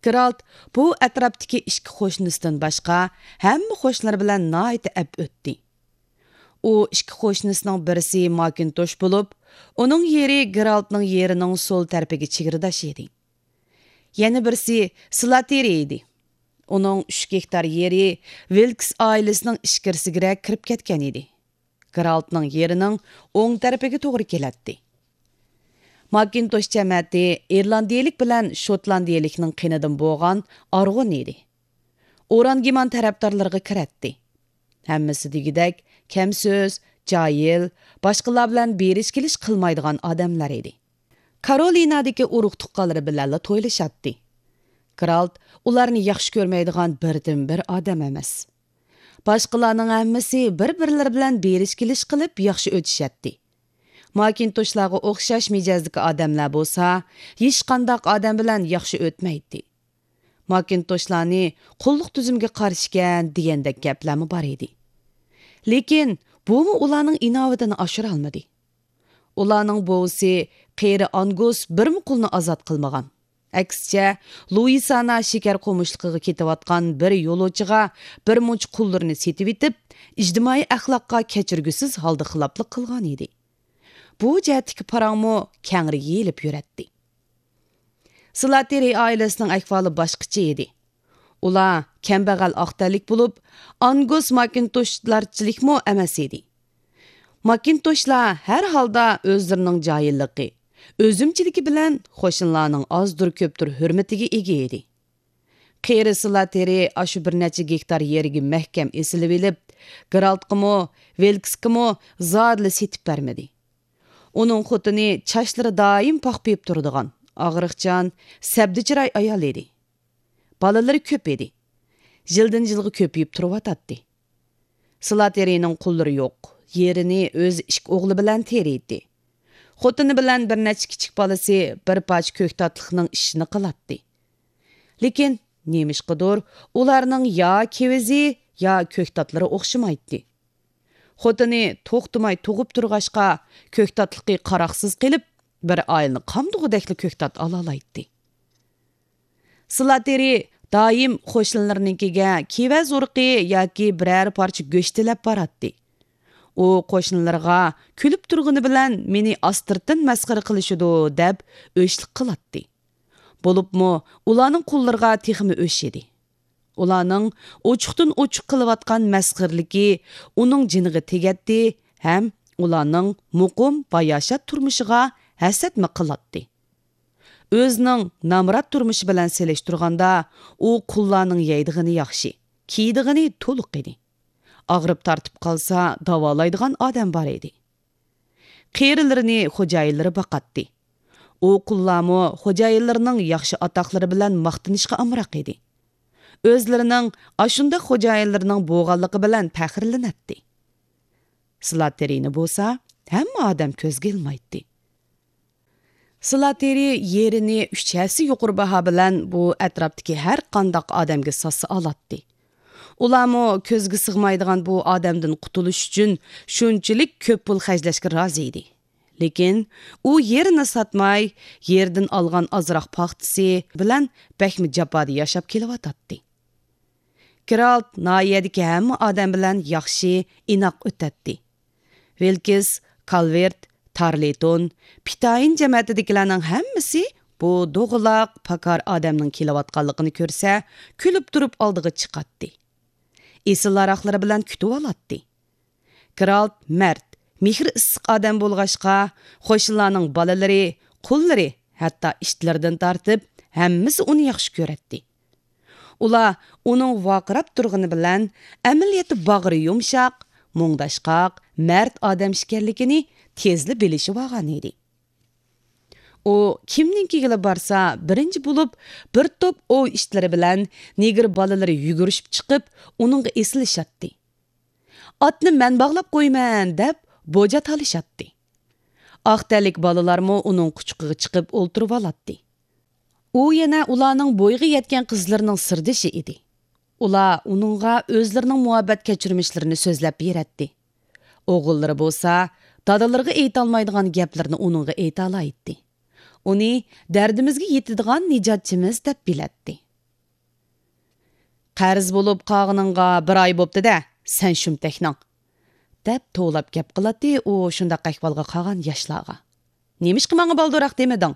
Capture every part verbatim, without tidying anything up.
گېرالت بۇ ئەتراپتىكى ئىككى قوشنىسىدىن باشقا ھەممە قوشنىلىرى بىلەن ناھايىتى ئەپ ئۆتتى. ئۇ ئىككى قوشنىسىنىڭ بىرسى ماكىنتوش بولۇپ، ئۇنىڭ يېرى گېرالتنىڭ يېرىنىڭ سول تەرىپىگە چېگرىداش ئىدى. يەنە بىرسى سلاتېرى ئىدى. ئۇنىڭ ئۈچ گېكتار يېرى ۋىلكس ئائىلىسىنىڭ ئىچكىرىسىگىرەك كىرىپ كەتكەن ئىدى. گېرالتنىڭ يېرىنىڭ ئوڭ تەرىپىگە توغرا كېلەتتى. ماكىنتوش جەمەتى ئىرلاندىيىلىك بىلەن شوتلاندىيىلىكنىڭ قېنىدىن بولغان ئارغۇن ئىدى. ئورانگىمان تەرەپدارلىرىغا كىرەتتى. ھەممىسى دېگۈدەك كەم سۆز، جاھىل، باشقىلار بىلەن بېرىش كېلىش قىلمايدىغان ئادەملەر ئىدى. كارولىنادىكى ئۇرۇق تۇغقانلىرى بىلەنلا تويلىشاتتى. گېرالت ئۇلارنى ياخشى كۆرمەيدىغان بىردىنبىر ئادەم ئەمەس. باشقىلارنىڭ ھەممىسى بىر-بىرلىرى بىلەن بېرىش كېلىش قىلىپ ياخشى ئۆتۈشەتتى. ماكىنتوشلارغا ئوخشاش مىجەزدىكى ئادەملەر بولسا ھېچقانداق ئادەم بىلەن ياخشى ئۆتمەيتتى. ماكىنتوشلارنى قۇللۇق تۈزۈمگە قارشىكەن دېگەندەك گەپلەرمۇ بار ئىدى. لېكىن بۇمۇ ئۇلارنىڭ ئىناۋىتىنى ئاشۇرالمىدى. ئۇلارنىڭ بوۋىسى قېرى ئانگۇس بىرمۇ قۇلنى ئازاد قىلمىغان. ئەكسىچە، لۇئىسانا شېكەر قومۇشلۇقىغا كېتىۋاتقان بىر يولۇچىغا بىر مۇنچە قۇللىرىنى سېتىۋېتىپ، ئىجتىمائىي ئەخلاققا كەچۈرگۈسىز ھالدا خىلاپلىق قىلغان ئىدى. بۇ جەھەتتىكى پاراڭمۇ كەڭرى يېيىلىپ يۈرەتتى. سلاتېرى ئائىلىسىنىڭ ئەھۋالى باشقىچە ئىدى. ئۇلار كەمبەغەل ئاق تەنلىك بولۇپ، ئانگۇس ماكىنتوشلارچىلىكمۇ ئەمەس ئىدى. ماكىنتوشلار ھەر ھالدا ئۆزلىرىنىڭ جاھىللىقى، ئۆزۈمچىلىكى بىلەن قوشنىلارنىڭ ئازدۇر-كۆپتۇر ھۆرمىتىگە ئىگە ئىدى. قېرى سلاتېرى ئاشۇ بىر نەچچە گېكتار يېرىگە مەھكەم ئېسىلىۋېلىپ، گېرالتقىمۇ، ۋىلكسكىمۇ زادىلا سېتىپ بەرمىدى. ئۇنىڭ خوتۇنى چاچلىرى دائىم پاخپىيىپ تۇرىدىغان، ئاغرىقچان، سەبدە چىراي ئايال ئىدى. بالىلىرى كۆپ ئىدى. يىلدىن يىلغا كۆپىيىپ تۇرۇۋاتاتتى. سلاتېرىنىڭ قۇللىرى يوق. يېرىنى ئۆزى ئىككى ئوغلى بىلەن تېرىيتتى. خوتۇنى بىلەن بىر نەچچە كىچىك بالىسى بىر پارچە كۆكتاتلىقنىڭ ئىشىنى قىلاتتى. لېكىن نېمىشقىدۇر ئۇلارنىڭ يا كېۋىزى، يا كۆكتاتلىرى ئوخشىمايتتى. خوتۇنى توختىماي تۇغۇپ تۇرغاچقا، كۆكتاتلىقى قاراقسىز قېلىپ، بىر ئائىلىنى قامدىغۇدەكلا كۆكتات ئالالايتتى. سلاتېرى دائىم قوشنىلىرىنىڭكىگە كېۋەز ئۇرۇقى ياكى بىرەر پارچە گۆش تىلەپ باراتتى. ئۇ قوشنىلىرىغا كۈلۈپ تۇرغىنى بىلەن مېنى ئاستىرتىن مەسخىرە قىلىشىدۇ، دەپ ئۆچلۈك قىلاتتى. بولۇپمۇ ئۇلارنىڭ قۇللىرىغا تېخىمۇ ئۆچ ئىدى. ئۇلارنىڭ ئوچۇقتىن ئوچۇق قىلىۋاتقان مەسخىرىلىكى ئۇنىڭ جېنىغا تېگەتتى ھەم ئۇلارنىڭ مۇقىم، باياشات تۇرمۇشىغا ھەسەتمۇ قىلاتتى. ئۆزىنىڭ نامرات تۇرمۇشى بىلەن سېلىشتۇرغاندا، ئۇ قۇللارنىڭ يەيدىغىنى ياخشى، كىيىدىغىنى تولۇق ئىدى. ئاغرىپ تارتىپ قالسا، داۋالايدىغان ئادەم بار ئىدى. قېرىلىرىنى خوجايىنلىرى باقاتتى. ئۇ قۇللارمۇ خوجايىنلىرىنىڭ ياخشى ئاتاقلىرى بىلەن ماختىنىشقا ئامراق ئىدى. ئۆزلىرىنىڭ ئاشۇنداق خوجايىنلىرىنىڭ بولغانلىقى بىلەن پەخىرلىنەتتى. سلاتېرىنى بولسا ھەممە ئادەم كۆزگە ئىلمايتتى. سلاتېرى يېرىنى ئۈچ ھەسسە يۇقىرى باھا بىلەن بۇ ئەتراپتىكى ھەر قانداق ئادەمگە ساتسا ئالاتتى. ئۇلارمۇ كۆزگە سىغمايدىغان بۇ ئادەمدىن قۇتۇلۇش ئۈچۈن شۇنچىلىك كۆپ پۇل خەجلەشكە رازى ئىدى. لېكىن ئۇ يېرىنى ساتماي، يېرىدىن ئالغان ئازراق پاختىسى بىلەن بەكمۇ جاپادا ياشاپ كېلىۋاتاتتى. گېرالت ناھىيەدىكى ھەممە ئادەم بىلەن ياخشى، ئىناق ئۆتەتتى. ۋىلكىس، كالۋېرت، تارلېتون، پىتايىن جەمەتىدىكىلەرنىڭ ھەممىسى بۇ دوغىلاق، پاكار ئادەمنىڭ كېلىۋاتقانلىقىنى كۆرسە، كۈلۈپ تۇرۇپ ئالدىغا چىقاتتى. ئېسىل ھاراقلىرى بىلەن كۈتۈۋالاتتى. گېرالت مەرد، مېھرى ئىسسىق ئادەم بولغاچقا، قوشنىلارنىڭ بالىلىرى، قۇللىرى، ھەتتا ئىتلىرىدىن تارتىپ ھەممىسى ئۇنى ياخشى كۆرەتتى. ئۇلار ئۇنىڭ ۋارقىراپ تۇرغىنى بىلەن، ئەمەلىيەتتە باغرى يۇمشاق، مۇڭداشقاق، مەرد ئادەم ئىكەنلىكىنى تېزلا بىلىشىۋالغان ئىدى. ئۇ كىمنىڭكىگىلا بارسا، بىرىنچى بولۇپ بىر توپ ئوۋ ئىتلىرى بىلەن نېگىر بالىلىرى يۈگۈرۈشۈپ چىقىپ، ئۇنىڭغا ئېسىلىشاتتى. «ئاتنى مەن باغلاپ قويىمەن!» دەپ بوجا تالىشاتتى. ئاق تەنلىك بالىلارمۇ ئۇنىڭ قۇچىقىغا چىقىپ ئولتۇرۇۋالاتتى. ئۇ يەنە ئۇلارنىڭ بويىغا يەتكەن قىزلىرىنىڭ سىردىشى ئىدى. ئۇلار ئۇنىڭغا ئۆزلىرىنىڭ مۇھەببەت كەچۈرمىشلىرىنى سۆزلەپ بېرەتتى. ئوغۇللىرى بولسا دادىلىرىغا ئېيتالمايدىغان گەپلىرىنى ئۇنىڭغا ئېيتالايتتى. ئۇنى دەردىمىزگە يېتىدىغان نىجاتچىمىز دەپ بىلەتتى. قەرز بولۇپ قالغىنىڭغا بىر ئاي بوپتۇ-دە، سەن شۇمتەكنىڭ، دەپ توۋلاپ گەپ قىلاتتى ئۇ شۇنداق ئەھۋالغا قالغان ياشلارغا. نېمىشقا ماڭا بالدۇراق دېمىدىڭ؟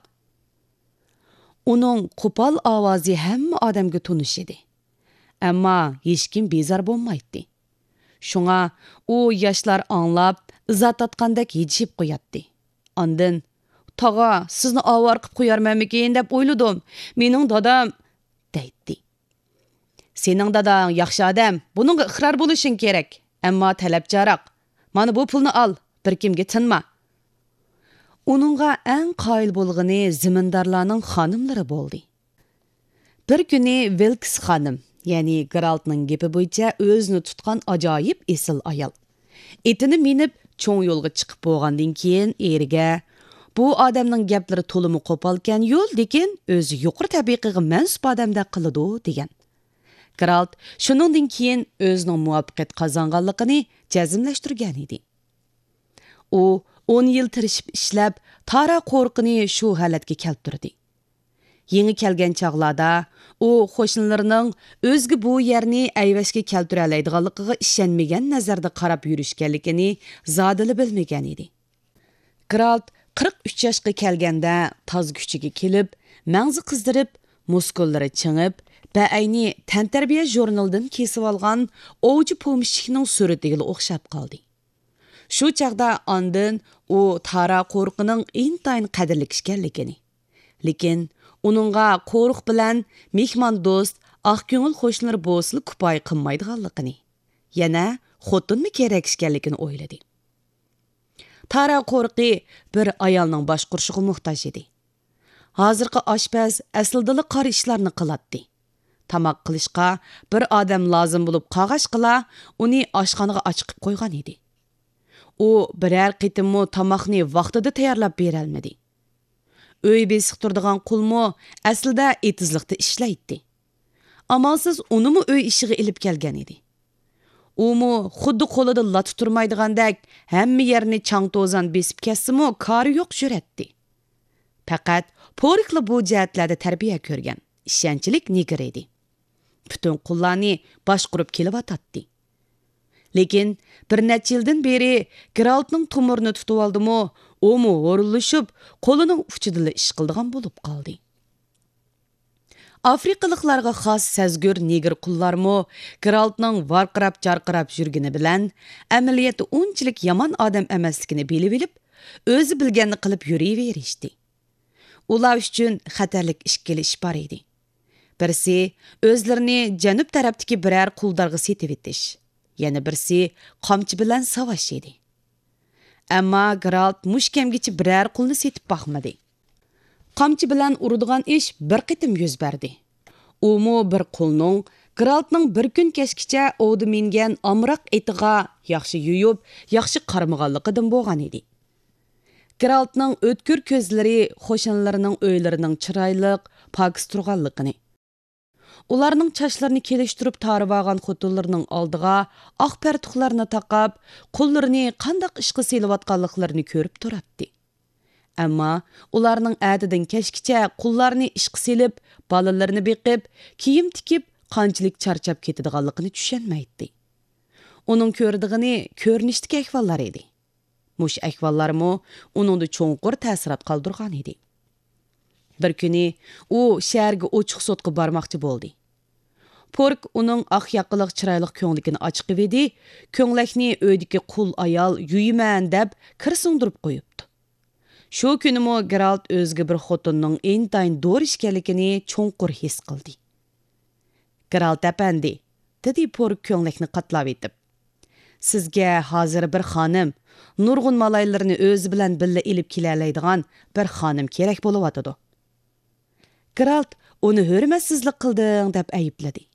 ئۇنىڭ قوپال ئاۋازى ھەممە ئادەمگە تونۇش ئىدى. ئەمما ھېچكىم بىزار بولمايتتى. شۇڭا ئۇ ياشلار ئاڭلاپ، ئىزا تارتقاندەك ھىجىيىپ قوياتتى. ئاندىن، «تاغا، سىزنى ئاۋارە قىپ قويارمەنمىكىن دەپ ئويلىدىم. مېنىڭ دادام» دەيتتى. «سېنىڭ داداڭ ياخشى ئادەم، بۇنىڭغا ئىقرار بولۇشۇڭ كېرەك. ئەمما تەلەپچانراق. مانا بۇ پۇلنى ئال، بىر كىمگە تىنما.» ئۇنىڭغا ئەڭ قايىل بولغىنى زېمىندارلارنىڭ خانىملىرى بولدى. بىر كۈنى ۋىلكس خانىم، يەنى گېرالتنىڭ گېپى بويىچە ئۆزىنى تۇتقان ئاجايىپ ئېسىل ئايال، ئېتىنى مىنىپ، چوڭ يولغا چىقىپ بولغاندىن كېيىن، ئېرىگە، «بۇ ئادەمنىڭ گەپلىرى تولىمۇ قوپالكەن يول، لېكىن ئۆزى يۇقىرى تەبىقىگە مەنسۇپ ئادەمدەك قىلىدۇ» دېگەن. گېرالت شۇنىڭدىن كېيىن ئۆزىنىڭ مۇۋەپپەقىيەت قازانغانلىقىنى جەزملەشتۈرگەن ئىدى. ئۇ ئون يىل تىرىشىپ ئىشلەپ، تارا قورۇقىنى شۇ ھالەتكە كەلتۈردى. يېڭى كەلگەن چاغلاردا ئۇ قوشنىلىرىنىڭ ئۆزىگە بۇ يەرنى ئەيۋەشكە كەلتۈرەلەيدىغانلىقىغا ئىشەنمىگەن نەزەردە قاراپ يۈرۈشكەنلىكىنى زادىلا بىلمىگەن ئىدى. گېرالت قىرىق ئۈچ ياشقا كەلگەندە تاز كۈچىگە كېلىپ، مەڭزى قىزىرىپ، مۇسكۇللىرى چىڭىپ، بەئەينى تەنتەربىيە ژۇرنىلىدىن كېسىۋالغان ئوۋچى پومېشچىكنىڭ سۈرىتىگىلا ئوخشاپ قالدى. شۇ چاغدا ئاندىن ئۇ تارا قورۇقىنىڭ ئىنتايىن قەدىرلىك ئىكەنلىكىنى، لېكىن ئۇنىڭغا قورۇق بىلەن مېھماندوست، ئاق كۆڭۈل قوشنىلىرى بولسىلا كۇپايە قىلمايدىغانلىقىنى، يەنە خوتۇنمۇ كېرەك ئىكەنلىكىنى ئويلىدى. تارا قورۇقى بىر ئايالنىڭ باشقۇرۇشىغا موھتاج ئىدى. ھازىرقى ئاشپەز ئەسلىدىلا قارا ئىشلارنى قىلاتتى. تاماق قىلىشقا بىر ئادەم لازىم بولۇپ قالغاچقىلا، ئۇنى ئاشخانىغا ئاچىقىپ قويغان ئىدى. ئۇ بىرەر قېتىممۇ تاماقنى ۋاقتىدا تەييارلاپ بېرەلمىدى. ئۆي بېسىق تۇرىدىغان قۇلمۇ ئەسلىدە ئېتىزلىقتا ئىشلەيتتى. ئامالسىز ئۇنىمۇ ئۆي ئىشىغا ئېلىپ كەلگەن ئىدى. ئۇمۇ خۇددى قولىدا لاتا تۇرمايدىغاندەك، ھەممە يەرنى چاڭ-توزان بېسىپ كەتسىمۇ، كارى يوق جۈرئەتتى. پەقەت پوركلا بۇ جەھەتلەردە تەربىيە كۆرگەن، ئىشەنچلىك نېگىر ئىدى. پۈتۈن قۇللارنى باشقۇرۇپ كېلىۋاتاتتى. لېكىن بىر نەچچە يىلدىن بېرى گېرالتنىڭ تومۇرىنى تۇتۇۋالدىمۇ، ئۇمۇ ھورۇنلىشىپ، قولىنىڭ ئۇچىدىلا ئىش قىلىدىغان بولۇپ قالدى. ئافرىقىلىقلارغا خاس سەزگۈر نېگىر قۇللارمۇ گېرالتنىڭ ۋارقىراپ-جارقىراپ يۈرگىنى بىلەن، ئەمەلىيەتتە ئۇنچىلىك يامان ئادەم ئەمەسلىكىنى بىلىۋېلىپ، ئۆزى بىلگەننى قىلىپ يۈرۈۋېرىشتى. ئۇلار ئۈچۈن خەتەرلىك ئىككىلا ئىش بار ئىدى. بىرسى، ئۆزلىرىنى جەنۇب تەرەپتىكى بىرەر قۇلدارغا سېتىۋېتىش، يەنە بىرسى، قامچا بىلەن ساۋاش ئىدى. ئەمما گېرالت مۇشۇ كەمگىچە بىرەر قۇلنى سېتىپ باقمىدى. قامچا بىلەن ئۇرىدىغان ئىش بىر قېتىم يۈز بەردى. ئۇمۇ بىر قۇلنىڭ گېرالتنىڭ بىر كۈن كەچكىچە ئوۋدا مىنگەن ئامراق ئېتىغا ياخشى يۇيۇپ، ياخشى قارىمىغانلىقىدىن بولغان ئىدى. گېرالتنىڭ ئۆتكۈر كۆزلىرى قوشنىلىرىنىڭ ئۆيلىرىنىڭ چىرايلىق، پاكىز تۇرغانلىقىنى، ئۇلارنىڭ چاچلىرىنى كېلىشتۈرۈپ تارىۋالغان خوتۇنلىرىنىڭ ئالدىغا ئاق پەرتۇقلارنى تاقاپ، قۇللىرىنى قانداق ئىشقا سېلىۋاتقانلىقلىرىنى كۆرۈپ تۇراتتى. ئەمما ئۇلارنىڭ ئەتىدىن كەچكىچە قۇللارنى ئىشقا سېلىپ، بالىلىرىنى بېقىپ، كىيىم تىكىپ، قانچىلىك چارچاپ كېتىدىغانلىقىنى چۈشەنمەيتتى. ئۇنىڭ كۆرىدىغىنى كۆرۈنۈشتىكى ئەھۋاللار ئىدى. مۇشۇ ئەھۋاللارمۇ ئۇنىڭدا چوڭقۇر تەسىرات قالدۇرغان ئىدى. بىر كۈنى ئۇ شەھەرگە ئوچۇق سوتقا بارماقچى بولدى. پورك ئۇنىڭ ئاق ياقىلىق چىرايلىق كۆڭلىكىنى ئاچىقىۋىدى، كۆڭلەكنى ئۆيدىكى قۇل ئايال يۇيىمەن دەپ كىر سىڭدۈرۈپ قويۇپتۇ. شۇ كۈنىمۇ گېرالت ئۆزىگە بىر خوتۇننىڭ ئىنتايىن دورا ئىكەنلىكىنى چوڭقۇر ھېس قىلدى. گېرالت ئەپەندى، دېدى پورك كۆڭلەكنى قاتلاۋېتىپ. سىزگە ھازىر بىر خانىم، نۇرغۇن مالايلىرىنى ئۆزى بىلەن بىللە ئېلىپ كېلەلەيدىغان بىر خانىم كېرەك بولۇۋاتىدۇ. گېرالت ئۇنى ھۆرمەتسىزلىك قىلدىڭ دەپ ئەيىبلىدى.